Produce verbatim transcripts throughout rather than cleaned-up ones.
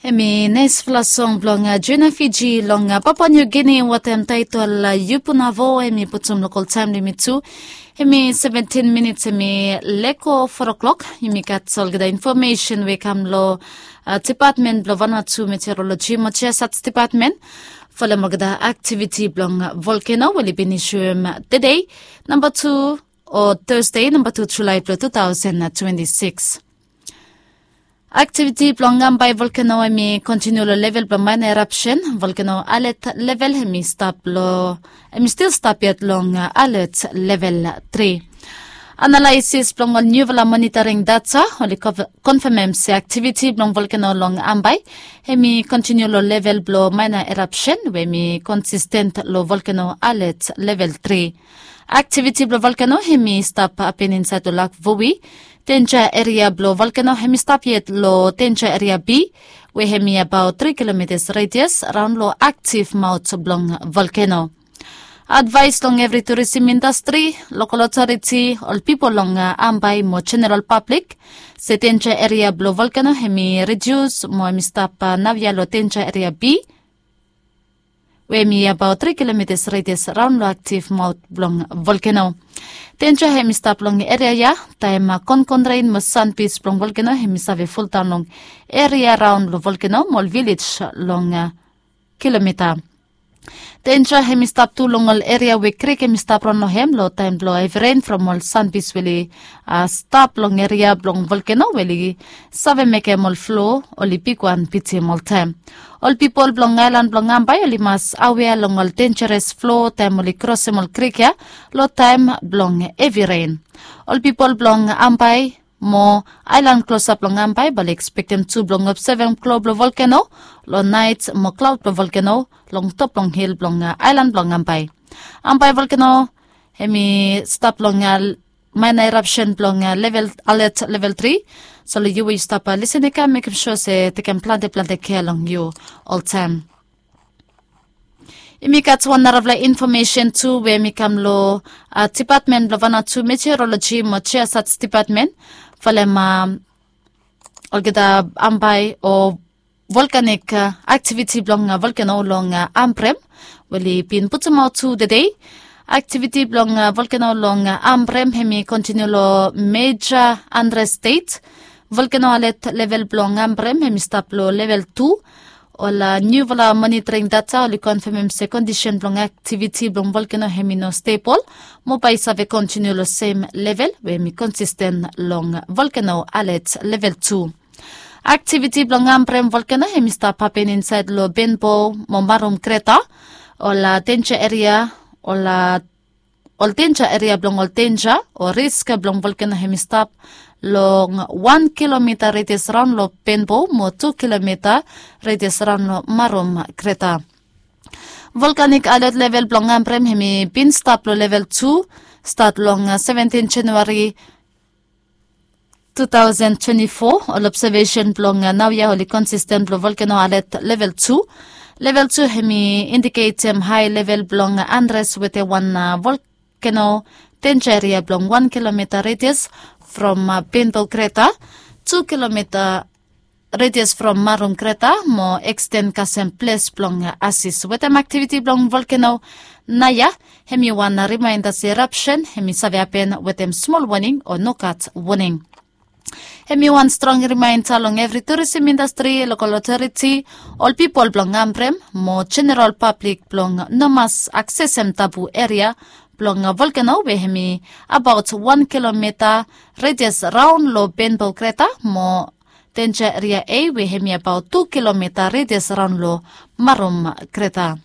Em i naispela song bilong Jona Fiji long Papua Niu Gini, watem taitol Yupunavo. Em i putum lokal taim limit tu. Em i seventin minits, em i leko four o'clock. Yumi gat olgeta infomesen we i kam long Depatmen bilong Vanuatu Meteorologi mo Jiasats Depatmen. Folem olgeta aktiviti bilong volkeno we oli bin isuim tede, namba tu, o Thursday, namba tu Julai bilong two thousand twenty-six. Aktiviti bilong Ambai volkeno em i kontiniu long level bilong maina erapsen. Volkeno alet level em i stap long, em i stil stap yet long alet level tri. Analaisis bilong ol niufala monitoring data oli konfemem se aktiviti bilong volkeno long Ambai em i kontiniu long level bilong maina erapsen we em i konsisten long volkeno alet level tri. Aktiviti bilong volkeno em i stap hapen insait long Lak Vui. Denja eria bilong volkeno em i stap yet long denja eria B, we em i abaut tri kilomitas redias raun long aktiv maut bilong volkeno. Advais long evri turisim indastri, lokal otoriti, ol pipol long Ambai mo jeneral pablik, se denja eria bilong volkeno em i redius mo em i stap naoia long denja eria B, we em i abaut tri kilomitas redias raun long aktiv maut bilong volkeno. Denja em i stap long eria ya taim konkon ren mo sanbis bilong volkeno em i save fuldaun long eria raun long volkeno mo ol vilej long kilomita. Denja em i stap tu long ol eria we krik em i stap raun long em long taim bilong hevi ren from ol sanbis we oli stap long eria bilong volkeno we oli save mekem ol flo oli bigwan bitim oltaim. Ol pipol bilong ailan bilong Ambai oli mas awea long ol denjares flo taim oli krosim ol krik ya long taim bilong hevi ren. Ol pipol bilong Ambai mo ailan klosap long Ambai bai oli ekspektem tu bilong obsevem klo bilong volkeno long nait mo klaut bilong volkeno long top long hil bilong ailan bilong Ambai. Ambai volkeno em i stap long maina erapsen bilong level alet level tri. So long yu we yu stap lisin i kam mekim sua se tekem plante plante kea long yu oltaim. Yumi gat wan narapela infomesen tu we mi kam long Depatmen bilong Vanuatu Meteorologi mo Jiasats Depatmen. Falem olgeta Ambai o volkanik aktiviti bilong volkeno long Ambrem we oli bin putumaut tu tede. Aktiviti bilong volkeno long Ambrem em i kontiniu long meja Andres Stet. Volkeno alet level bilong Ambrem em i stap long level tu. Ol niufala monitoring data oli konfemem se kondisen bilong aktiviti bilong volkeno em i no stebol mo bai i save kontiniu long sem level we em i konsisten long volkeno alet level tu. Aktiviti bilong Ambrem volkeno em i stap hapen insait long Benbow mo Marum Kreta. Ol denja eria, ol ol denja eria bilong ol denja o risk bilong volkeno em i stap long wan kilomita redias raun long Benbow mo tu kilomita redias raun long Marum Kreta. Volkanik alet level bilong Ambrem em i bin stap long level tu stat long seventin Januari two thousand twenty-four. Ol obsevesen bilong naoia oli konsisten bilong volkeno alet level tu. Level tu em i indiketem hae level bilong Andres wetem wan volkeno denja eria bilong wan kilomita redias from Benbow Kreta, tu kilomita redias from Marum Kreta mo eksten kasem ples bilong asis wetem aktiviti bilong volkeno naoia. Em i wan rimainda se erapsen em i save hapen wetem smol waning o nogat waning. Em i wan strong rimainda long evri turisim indastri, lokal otoriti, ol pipol bilong Ambrem mo jeneral pablik bilong no mas aksesem tabu eria bilong volkeno we em i abaut wan kilomita redias raun long Benbow Kreta mo denja eria A we em i abaut tu kilomita redias raun long Marum Kreta.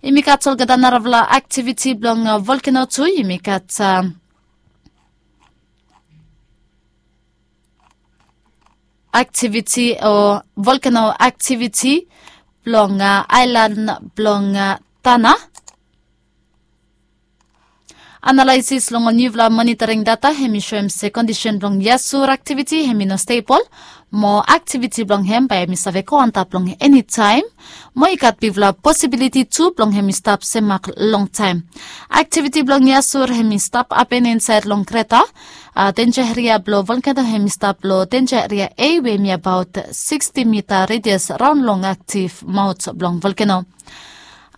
Yumi gat olgeta narafala aktiviti bilong volkeno tu. Yumi gat aktiviti o volkeno aktiviti bilong ailan bilong Tana. Analaisis long ol niufala monitoring data hem i soem se kondisen blong yasur aktiviti hem i no stebol, mo aktiviti blong hem bae hem i save go antap long enitaem. Mo i gat bigfala posibiliti tu blong hem i stap semak longtaem. Aktiviti blong yasur hem i stap hapen insaed long kreta. Denja eria blong volkeno hem i stap long denja eria a we hem i abaot siksti mita redias raon long aktiv maot blong volkeno.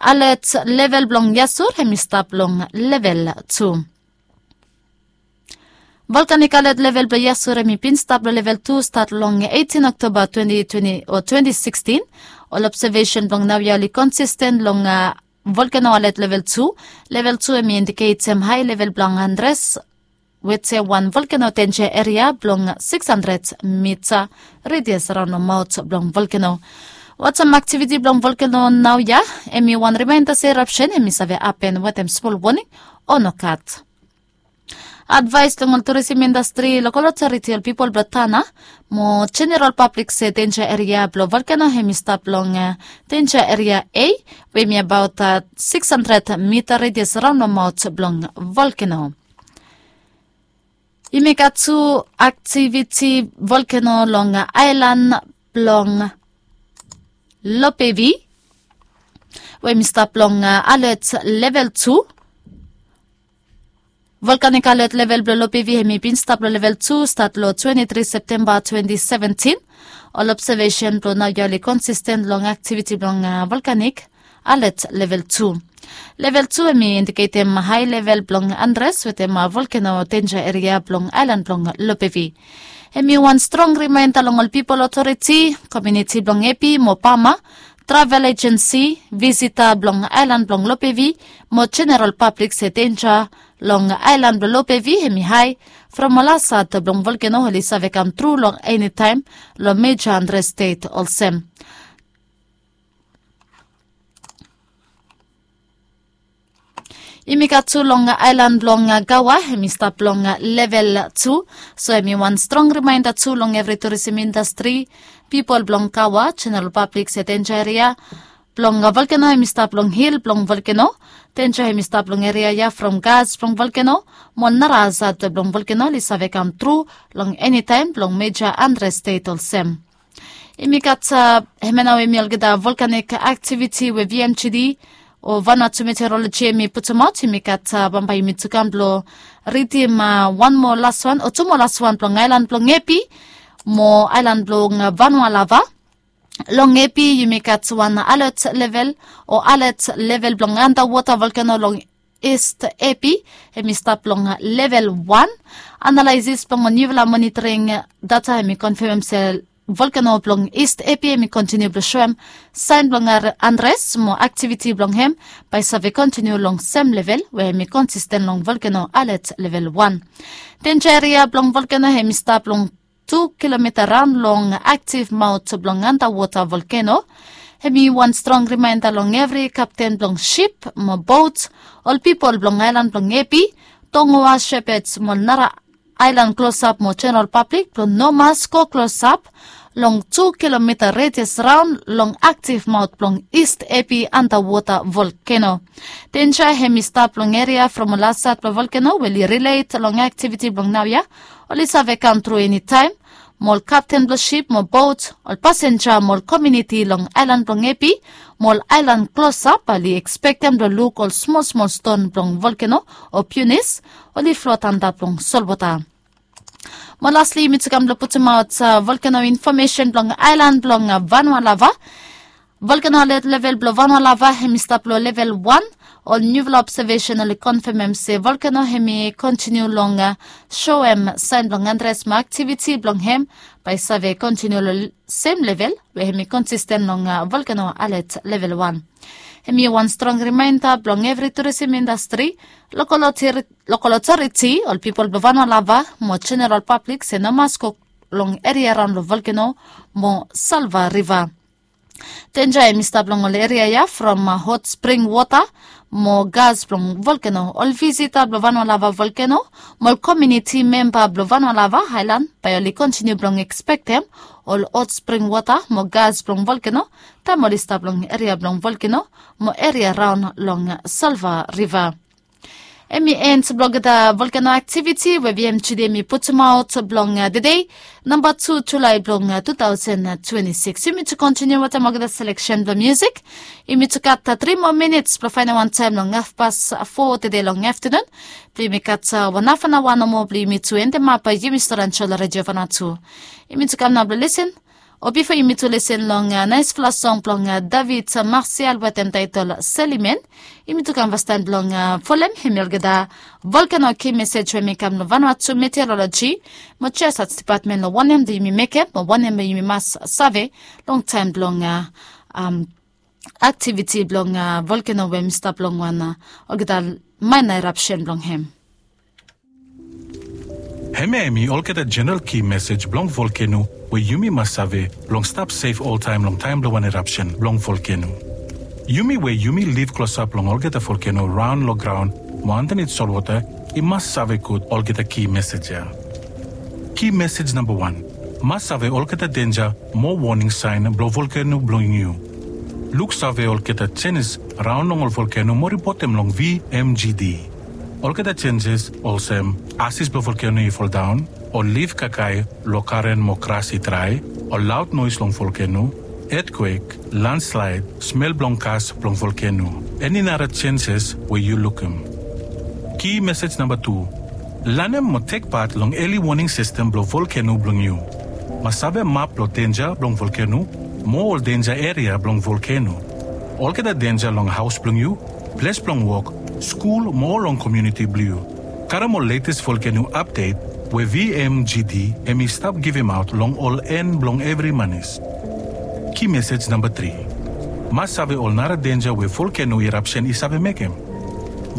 Alet level blong yasur hem i stap long level tu. Volkanik alet level blong yasur hem i bin stap long level tu stat long eitin oktoba twenti twenti o twenti sikstin. Ol obsevesen blong naoia oli konsisten long volkeno alet level tu. Level tu hem i indiketem hae level blong andres, wete wan volkeno denja eria blong siks handred mita redias raon long maot blong volkeno. Watam aktiviti blong volkeno naoia, hem i wan rimaenda se erapsen hem i save hapen wetem smol woning o nogat. Advaes long ol turisim indastri, lokal otoriti, ol pipol blong tana mo jeneral pablik se denja eria blong volkeno hem i stap long denja eria a, we hem i abaot siks handred mita redias raon long maot blong volkeno. Yumi gat tu aktiviti volkeno long aelan blong Lopevi, we hem i stap long alet level tu. Volkanik alet level blong Lopevi hem i bin stap long level tu stat long twenti tri Septemba twenti seventin. Ol obsevesen blong naoia oli konsisten long aktiviti blong volkanik alet level tu. Level tu hem i indiketem hae level blong andres wetem volkeno denja eria blong aelan blong Lopevi. Hem i wan strong rimaenda long ol pipol otoriti, komuniti blong epi mo pama, travel ejensi, visita blong aelan blong Lopevi mo jeneral pablik se denja long aelan blong Lopevi hem i hae from ol asat blong volkeno oli save kamtru long enitaem long meja andres stet olsem. Yumi gat tu long aelan blong Gawa hem i stap long level tu. So hem i wan strong rimaenda tu long evri turisim indastri, pipol blong Gawa, jeneral pablik se denja eria blong volkeno hem i stap long hil blong volkeno. Denja hem i stap long eria ya from gas blong volkeno mo nara asat blong volkeno oli save kamtru long enitaem blong meja andres stet olsem. Yumi gat hemia nao hem i olgeta volkanik aktiviti we V M G D o Vanuatu Meteoroloji hem i putumaot. Yumi gat bambae yumi tu kam blong ridim wan moa laswan o tu moa laswan blong aelan blong Epi mo aelan blong Vanualava. Long Epi yumi gat wan alet level o alet level blong andawota volkeno long Ist Epi hem i stap long level wan. Analaisis blong niufala monitoring data hem i konfemem se volkeno blong Ist Epi hem i kontiniu blong soem saen blong andres mo aktiviti blong hem bae i save kontiniu long sem level we hem i konsisten long volkeno alet level wan. Denja eria blong volkeno hem i stap long tu kilomita raon long aktiv maot blong andawota volkeno. Hem i wan strong rimaenda long evri kapten blong sip mo bot, ol pipol blong aelan blong Epi, Tongoa, Shepherds mo nara aelan klosap mo jeneral pablik blong no mas go klosap long tu kilomita redias raon long aktiv maot blong Ist Epi andawota volkeno. Denja hem i stap long eria from ol asat blong volkeno we oli rilet long aktiviti blong naoia oli save kamtru enitaem. Mo ol kapten blong sip mo bot, ol pasenja mo ol komuniti long aelan blong Epi mo ol aelan klosap bae oli ekspektem blong luk ol smol smol ston blong volkeno o piunis oli flot antap long solwota. Mo lasli yumi tu kam blong putumaot volkeno infomesen blong aelan blong Vanualava. Volkeno alet level blong Vanualava hem i stap long level wan. Ol niufala obsevesen oli konfemem se volkeno hem i kontiniu long soem saen blong andres mo aktiviti blong hem bae i save kontiniu long sem level we hem i konsisten long volkeno alet level wan. Hem i wan strong rimaenda blong evri turisim indastri, lokal otoriti, ol pipol blong Vanualava mo jeneral pablik se no mas go long eria raon long volkeno mo Salva Riva. Denja hem i stap long ol eria ya from hot spring wota mo gas blong volkeno. Ol visita blong Vanualava volkeno mo ol komuniti memba blong Vanualava aelan bae oli kontiniu blong ekspektem ol hot spring wota mo gas blong volkeno taem oli stap long eria blong volkeno mo eria raon long Salva Riva. Em i en blong olgeta volkeno aktiviti we vmgd em i putumaot blong tede, namba tu julae blong tu taosen twenti sikis. Yumi tu kontiniu wetem olgeta seleksen blong musik. Yumi tu gat tri moa minits blong faenem wan taem long hafpas fo tede long aftanun blong yumi gat wan hafanaoa nomo blong yumi tu endemap yumi stori an sho long redio vanua tu. Yumi tu kam nao blong lisen. O bifo yumi tu lisen long naesfala song blong David Marsial wetem taetol Selimen, yumi tu kam fastaem blong folem hemi olgeta volkeno ki mesej we hemi kam long vanua tu meteoroloji mo jesaj depatmen long wanem blong yumi mekem mo wanem blong yumi mas save long taem blong aktiviti blong volkeno we hemi stap long wan olgeta maena erapsen blong hem. Hemia hemi olgeta jeneral ki mesej blong volkeno we yumi mas save blong stap sef oltaem long taem blong wan erapsen blong volkeno. Yumi we yumi liv klosap long olgeta volkeno raon long graon mo andanit solwota i mas save gud olgeta ki mesej ya. Ki mesej namba wan, mas save olgeta denja mo woning saen blong volkeno blong yu. Luksave olgeta jenis raon long ol volkeno mo ripotem long vmgd. Olgeta jenjes olsem asis blong volkeno i foldaon, ol lif kakae long karen mo gras i drae, ol laod noes long volkeno, etkwek, landslaed, smel blong gas blong volkeno, eni nara jenjes we yu lukim. Ki mesej namba tu, lanem mo tek pat long eli woning sistem blong volkeno blong yu. Mas save map blong denja blong volkeno mo ol denja eria blong volkeno. Olgeta denja long haos blong yu, ples blong wok, skul mo ol long komuniti blong yu. Karem ol letes volkeno apdet we vmgd hemi stap givimaot long ol en blong evri manis. Ki mesej namba tri, mas save ol nara denja we volkeno erapsen i save mekem.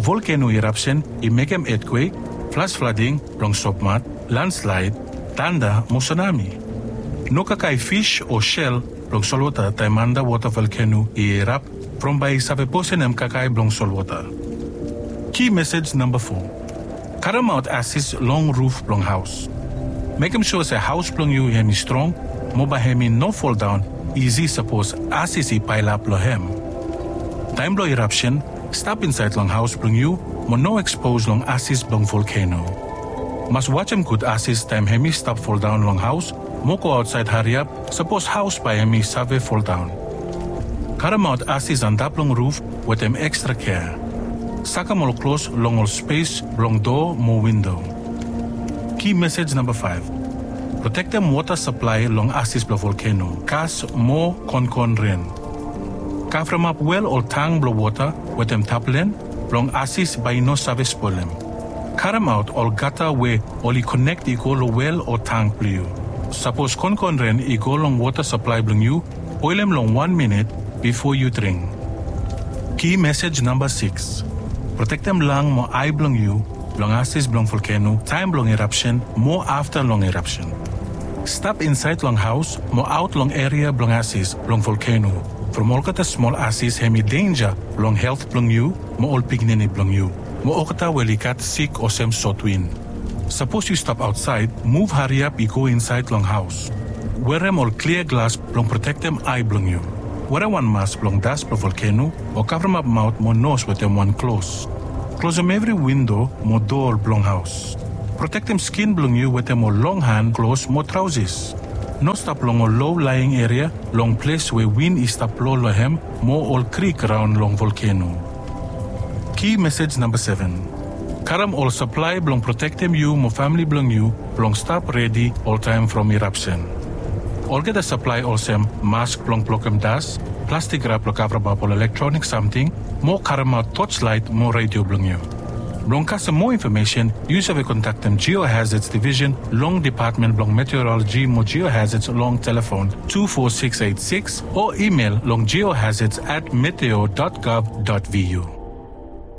Volkeno erapsen i mekem etkwek, flas flading blong sopmat, landslaed, tanda mo sunami. No kakae fis o sel blong solwota taem andawota volkeno i erap from bae i save posenem kakae blong solwota. Ki mesej namba fo, karemaot asis long ruf blong haos. Mekem sua se haos blong yu hemi strong mo bae hemi no foldaon isi sapos asis i paelap long hem. Taem blong erapsen, stap insaed long haos blong yu mo no ekspos long asis blong volkeno. Mas wajem gud asis taem hemi stap foldaon long haos mo go aotsaed hariap sapos haos bae hemi save foldaon. Karemaot asis antap long ruf wetem ekstra kea. Sakem ol klos long ol spes blong doa mo windo. Ki mesej namba faef, protektem wota saplae long asis blong volkeno, gas mo konkon ren. Kavremap wel ol tang blong wota wetem taplen blong asis bae i no save spolem. Karemaot ol gata we oli konek i go long wel o tang blong yu. Sapos konkon ren i go long wota saplae blong yu, oelem long wan minit bifo yu dring. Ki mesej namba sikis, protektem lang mo ae blong yu blong asis blong volkeno taem blong erapsen mo afta long erapsen. Stap insaed long haos mo aot long eria blong asis blong volkeno, from olgeta smol asis hemi denja long helt blong yu mo ol pikinini blong yu mo olgeta we oli gat sik olsem sotwin. Sapos yu stap aotsaed, muv hariap i go insaed long haos. Werem ol klia glas blong protektem ae blong yu. Werem wan mas blong das blong volkeno o kavremap maot mo nos wetem wan klos. Klosem evri windo mo doa blong haos. Protektem skin blong yu wetem ol long han klos mo traosis. No stap long ol lo laeng eria long ples we win i stap blo long hem mo ol krik raon long volkeno. Ki mesej namba seven. Karem ol saplae blong protektem yu mo famle blong yu blong stap redi oltaem from irapsen. Olgeta saplae olsem mask blong blokem das, plastik rap blong kavremap ol elektronik samting, mo karemaot torchlight mo redio blong yu. Blong kasem moa infomesen, yu save kontaktem Geohazards Division long Depatmen blong Meteoroloji mo Geohazards long telefon two four six eight six o imel long geohazards at meteo dot gov dot vu.